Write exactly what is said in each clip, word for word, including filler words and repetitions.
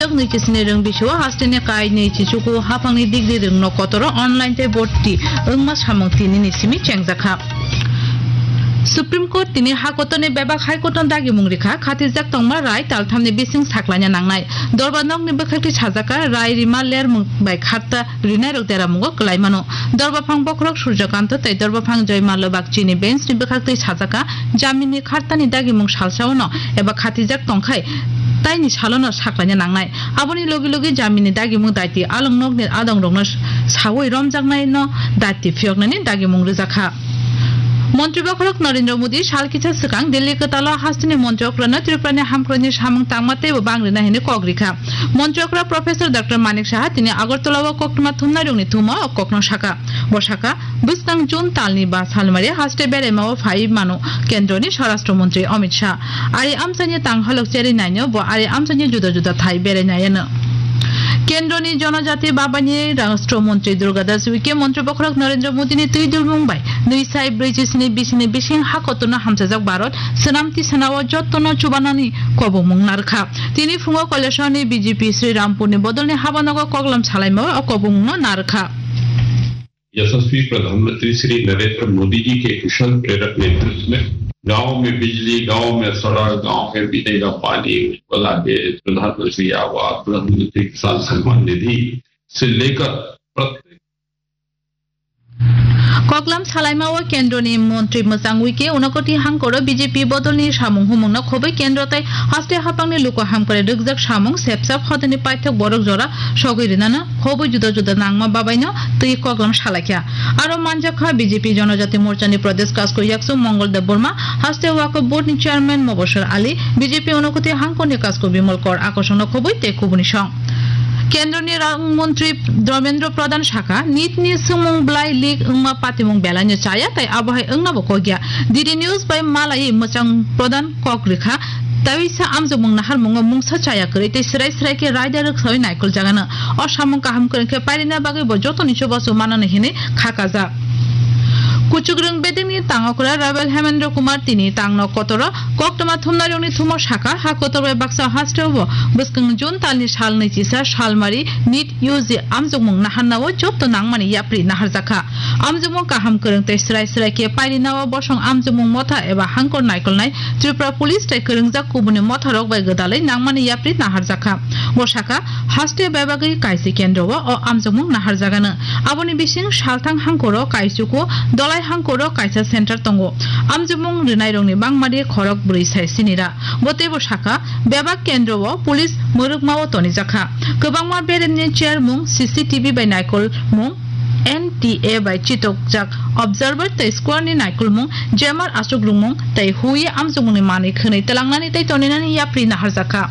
Nok nui chisini rwng bisio hasteni kai nui chichuku haphangni degree rwngno kotoro online tei borti wngma samung tinini simi chengjakha. Supreme Court tini ha kotorni bebak High Court no dagimung rikha, khatijak tongma rai talthamni bising saklaina nangnai. Dorba nokni bwkhakti sajaka rai rima lermung bai kharta rinairok deramungo kwlaimano. Dorbaphang bokhorok Surjakanto tei Dorbaphang Joymallo Bagchini bench ni bwkhaktwi sajaka, jamini khartani dagimung salsaono eba khatijak tongkhai taini salono saklaina nangnai. Aboni logi logi jamini dagimung daiti along nokni adongrokno sawi romjaknaino daiti phiyoknani dagimung rwjakha. Montri bokhorok Narendra Modi sal kisa swkang Delhi kwtalo hasteni montri okrano Tripurani hamkroini samung tangma teibo bang rina hwnwi kok rikha. Montri okra Professor Doctor Manik Saha tini Agartala o koktwma thumnairokni thumo o kokno saka. Bo saka, bwskang June talni ba salmari haste beraima o phai mano kendroni Swarashtra Montri Amit Shah. Ari amchaini tang halok cheri naino bo ari amchaini juda juda thai berai naiano. Kendroni Jonojati Babani Rashtra Montri Durga Das Uike Montri bokhorok Narendra Modi ni twi dulmung bai nui sai brwi chisini bisini bising ha kotorno hamchajak Bharat swnam tisana o jottono chubanani kobongmung narwkha. Tini phungo Kailashahar ni B J P Sri Rampur ni bodolni habanogo koklam salaima o kobongmung no narwkha. यशस्वी प्रधानमंत्री श्री नरेंद्र मोदी जी के कुशल प्रेरक नेतृत्व में गांव में बिजली, गांव में सड़क, गांव में पीने का पानी, उज्ज्वला गैस, प्रधानमंत्री आवास, प्रधानमंत्री किसान सम्मान निधि से लेकर प्रत्येक Koklam salaima o kendroni montri mwchang wike unokoti hangkoro B J P bodolni samung humungno khobwi kendro tei haste haphangni luku hamkrai rwkjak samung sepsap hodani paithak borok jora sogwi rinano khobwi juda juda nangma babaino twi koklam salaikha. Aro manjakha B J P Jonojati Morchani Pradesh Kasku Yaksu Mongol Debbarma, haste Waqf Board ni Chairman Mobashir Ali, B J P unokoti hangkorni Kasku Bimal Kor akosongno khobwi tei kubuni song. Kendroni rang montri Dharmendra Pradhan sakha, nit ni swngmung bwlai leak wngma patimung belaino chaya tei abohai wngnabo kokya. D D News bai malai mwchang Pradhan kok rikha, tawisa amjokmung naharmungo mungsa chaya kwrwi tei swrai swrai khe raida rwksawi naikol jagano. O samung kaham kwrwng khe pairina bagwi bo jotoni chubachu manani hwnwi kha kajak. Kuchukrwng bedekni tangokra Ravel Hemendra Kumar tini tangno kotoro koktwma thumnairokni thumo sakha, ha kotor bai baksa hasteo bo bwskang June talni sal nwi chisa salmari nit U G amjokmung naharnao jotto nangmani yapri naharjakha. Amjokmung kaham kwrwng tei swrai swrai khe pairina o bosong amjokmung motha eba hangkor naikolnai Tripura Police tei kwrwngjak kubuni motharok bai gwdalwi nangmani yapri naharjakha. Bo sakha, haste bebagwi kaisi kendro o, o amjokmung naharjagano. Aboni bising salthang hangkoro kaisuku, dolai hangkoro kaisa center tongo. Amjokmung rwnairokni bangmadi khorok bwrwi sai sinira. Bo teibo sakha, bebak kendro o police mwrwkma o tonijakha. Kwbangma beremni chairmung, C C T V bai naikolmung, N T A bai chitokjak observer tei squad ni naikolmung, jammer aswk rwngmung tei huye amjokmungni manwi khwnwi twlangnani tei toninani yapri naharjakha.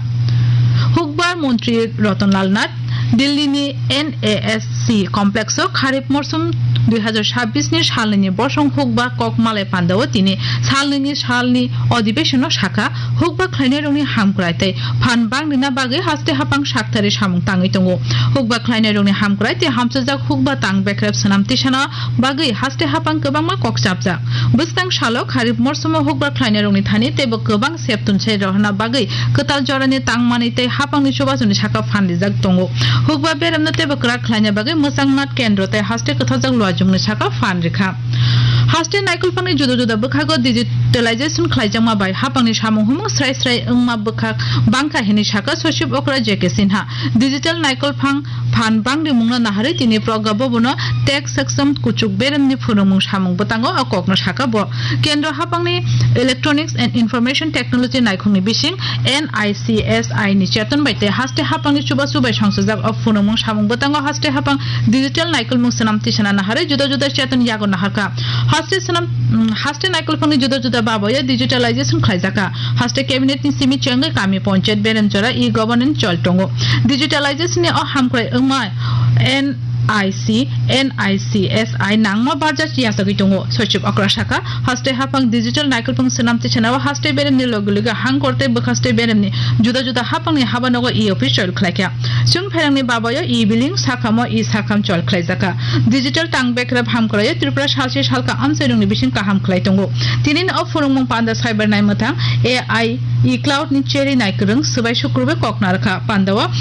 Hukbar montri Ratan Lal Nath Delhi ni N A S C complex o kharip morsum dui hazar sabbish ni salnwi ni bosong hukba kok malai pandao tini salnwi ni salni odhibeshon o sakha, hukba khlainairokni hamkrai tei phan bang rina bagwi haste haphang saktharwi samung tangwi tongo. Hukba khlainairokni hamkrai tei hamchajak hukba tang bekrep swnam tisana bagwi haste haphang kwbangma kok chapjak. Bwskang salo kharip morsomo hukba khlainairokni thani teibo kwbang sep tunsai rohorna bagwi kwtal jorani tangmani tei haphangni chubachuni saka phan rijak tongo. Hukba beremno teibo kwrak khlaina bagwi mwchang Nath kendro tei haste kwtharjak luajwngni saka phan rikha. Haste naikolphangni juda juda bwkhago digitalization khlaijakma bai haphangni samung humung srai srai wngma bwkhak bangkha hinwi sakha Sochib Okra J K Sinha. Digital naikolphang phan bang rimungno naharwi tini Pragya Bhavan o tech section kuchuk beremni phunukmung samung bwtango o kokno sakha bo. Kendro haphangni Electronics and Information Technology naikhungni bising N I C S I ni cheton bai tei haste haphangni chubachu bai songchajak o phunukmung samung bwtango haste haphang digital naikolmung swnam tisana naharwi juda juda cheton yago naharkha. Haste swnam, mm, haste naikolphangni juda juda baboyo digitalization khlaijakha. Haste cabinet ni simi chengwi kami panchayat beremjora e-governance chol tongo. Digitalization ni o hamkrai wngma N I C, N I C S I nangma barja yatagwi tongo. Sochib Okra sakha, haste haphang digital naikolphang swnam tisanao haste beremni loge loge hangkor tei bwkhaste beremni juda juda haphangni habanogo e-office chol khlaikha. Chwng pherangni babayo e-billing, sakhamo e-sakham chol khlaijakha. Digital tang bekrep hamkraio Tripura salsi salka amchairokni bising kaham khlai tongo. Tini o phunukmung panda saibar nai mwthang A I e-cloud ni cheri nai kwrwng swbai sukrubwi kok narwkha. Pandao